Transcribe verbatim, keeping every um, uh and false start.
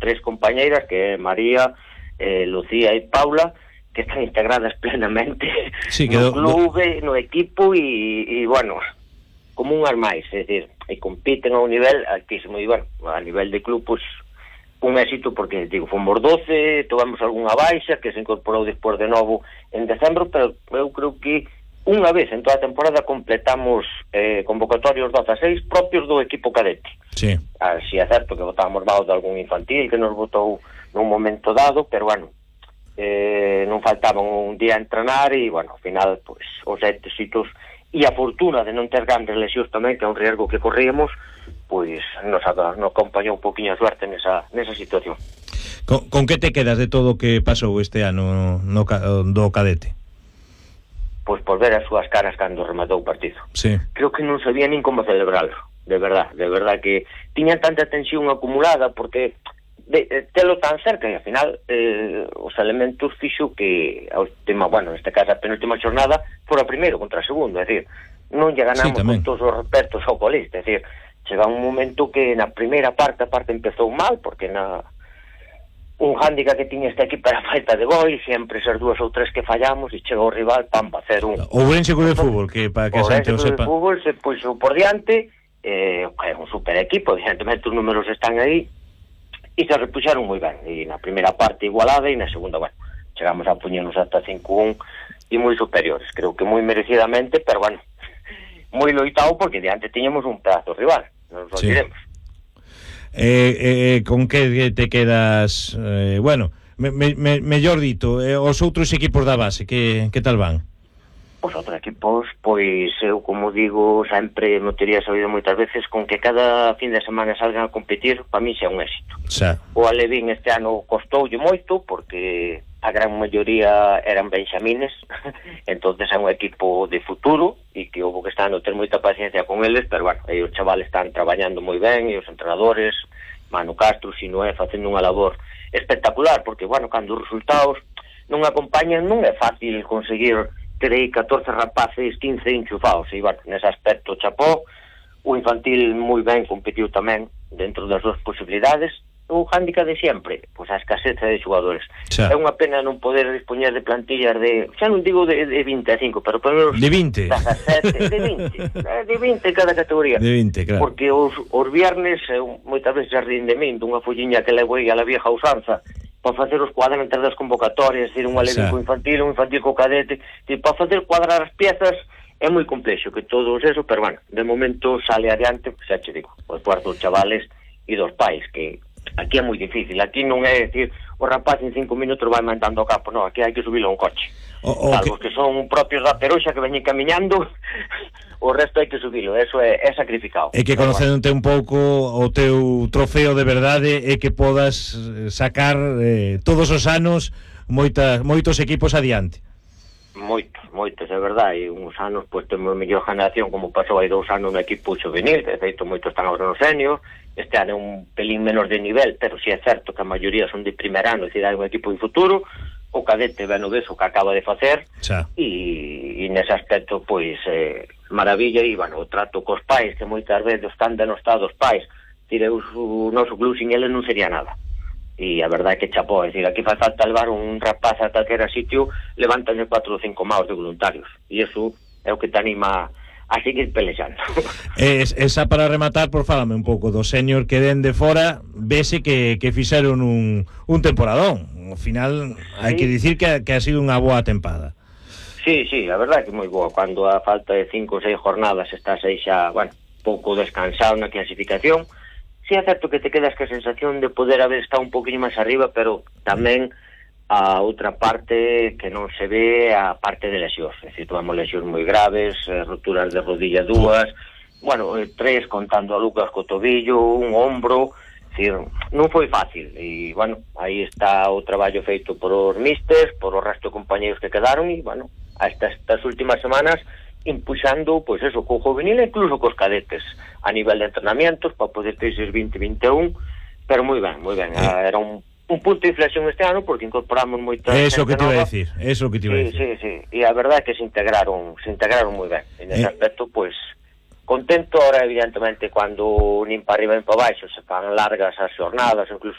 tres compañeiras, que é María, eh, Lucía e Paula, que están integradas plenamente sí, no clube, do... no equipo e, e, bueno, como unhas máis, é dicir, e compiten a un nivel altísimo, e, bueno, a nivel de club, pues, un éxito, porque, digo, fomos doce, tovamos algunha baixa, que se incorporou despois de novo en decembro, pero eu creo que unha vez en toda a temporada completamos eh, convocatorios doce propios do equipo cadete. Sí. Así é certo que botábamos mal de algún infantil que nos botou nun momento dado, pero bueno, eh, non faltaban un día a entrenar e, bueno, ao final, pues, os éxitos e a fortuna de non ter grandes lesións tamén, que é un riesgo que corríamos, pois nos, nos acompañou un poquinho a suerte nesa, nesa situación. Con, con que te quedas de todo o que pasou este ano no, do cadete? Pois por ver as súas caras cando rematou o partido. Sí. Creo que non sabía nin como celebrarlo, de verdad, de verdad que tiñan tanta tensión acumulada porque de, de telo tan cerca e ao final eh, os elementos fixo que a última, bueno, neste caso a penúltima xornada fora primeiro contra segundo, é dicir, non lle ganamos sí, con todos os respetos ao colista, é dicir, chega un momento que na primeira parte a parte empezou mal porque na un hándicap que tiña este equipo era falta de gol, sempre esas dúas ou tres que fallamos e chegou o rival, pam, para hacer un... O Ourense Club de Fútbol, que para que a xente o sepa. O Ourense Club de Fútbol se puxo por diante, eh, é un super equipo, evidentemente os números están aí, e se repuxaron moi ben, e na primeira parte igualada, e na segunda, bueno, chegamos a puñernos hasta cinco un, e moi superiores, creo que moi merecidamente, pero bueno, moi loitado, porque diante tiñamos un pedazo rival, non nos olvidemos. Sí. Eh, eh, con que te quedas eh, bueno, me, me, mellor dito eh, os outros equipos da base que, que tal van? Os outros equipos, pois eu como digo sempre me teria sabido moitas veces con que cada fin de semana salgan a competir, para mí xa é un éxito. Xa. O Alevín este ano costoulle moito porque a gran maioría eran benxamines entonces é un equipo de futuro e que houve que estar no ter moita paciencia con eles, pero bueno, aí os chavales están traballando moi ben e os entrenadores, Manu Castro, Sinoé, facendo unha labor espectacular, porque bueno, cando os resultados non acompañan non é fácil conseguir ter aí catorce rapaces, quince enchufados e bueno, nese aspecto chapó, o infantil moi ben competiu tamén dentro das súas posibilidades. O hándicap de sempre, pois a escaseza de xogadores. Xa. É unha pena non poder dispoñer de plantillas de, xa non digo de, de vinte a cinco, pero por menos de vinte, dezasete, de vinte, de vinte en cada categoría. De vinte, claro. Porque os, os viernes, moitas veces a rendemento, unha folliña que levo aí a la vieja usanza, para facer os cuadros entre das convocatorias, decir, un alevín infantil, un infantil co cadete, e para facer cuadrar as piezas é moi complexo, que todos eso, pero bueno, de momento sale adiante, xa che digo, os cuartos chavales e dos pais, que aquí é moi difícil, aquí non é decir o rapaz en cinco minutos vai mandando ao campo, non, aquí hai que subilo a un coche, o, o salvo que... que son propios da Peroxa que veñen camiñando o resto hai que subilo, eso é, é sacrificado. É que conocéndote un pouco o teu trofeo de verdade é que podas sacar eh, todos os anos moitas, moitos equipos adiante. Moitos, moitos, é verdade, e uns anos pois temos a mellor generación como pasou hai dous anos no equipo juvenil, de feito moitos están agora no senior, este ano é un pelín menos de nivel, pero si é certo que a maioría son de primer ano, é dicir, hai un equipo de futuro, o cadete ben o ves o que acaba de facer, e, e nese aspecto pois eh, maravilla, e bueno, o trato cos pais, que moitas veces están denostados pais, dicir, o noso club sin ele non sería nada. E a verdade é que chapó, é dicir, aquí faz falta levar un rapaz a calquera sitio, levantan cuatro ou cinco maus de voluntarios, e iso é o que te anima a seguir pelexando. Es, esa para rematar, por fálame un pouco do senior que den de fora, vese que, que fixeron un, un temporadón. Ao final, sí. Hai que dicir que, que ha sido unha boa tempada. Sí, sí, a verdade é que moi boa. Cando a falta de cinco ou seis jornadas estás aí xa, bueno, pouco descansado na clasificación, sí é certo que te quedas que a sensación de poder haber estado un poquinho máis arriba, pero tamén a outra parte que non se ve, a parte de lesións, é dicir, tomamos lesións moi graves, eh, roturas de rodilla dúas, bueno, eh, tres contando a Lucas co tobillo, un ombro, é dicir, non foi fácil, e bueno, aí está o traballo feito por os místers, por o resto de compañeros que quedaron, e bueno, hasta estas últimas semanas impuxando, pois eso, co juvenil e incluso cos cadetes a nivel de entrenamientos para poder ter eses vinte vinte e un, pero moi ben, moi ben, eh. era un un punto de inflexión este ano porque incorporamos moita eso que te iba a decir, eso que te iba a decir. Sí, sí, sí, e a verdade é que se integraron, se integraron moi ben. En ese eh. aspecto, pois, contento ahora evidentemente cando nin para arriba nin para baixo se fan largas as xornadas, incluso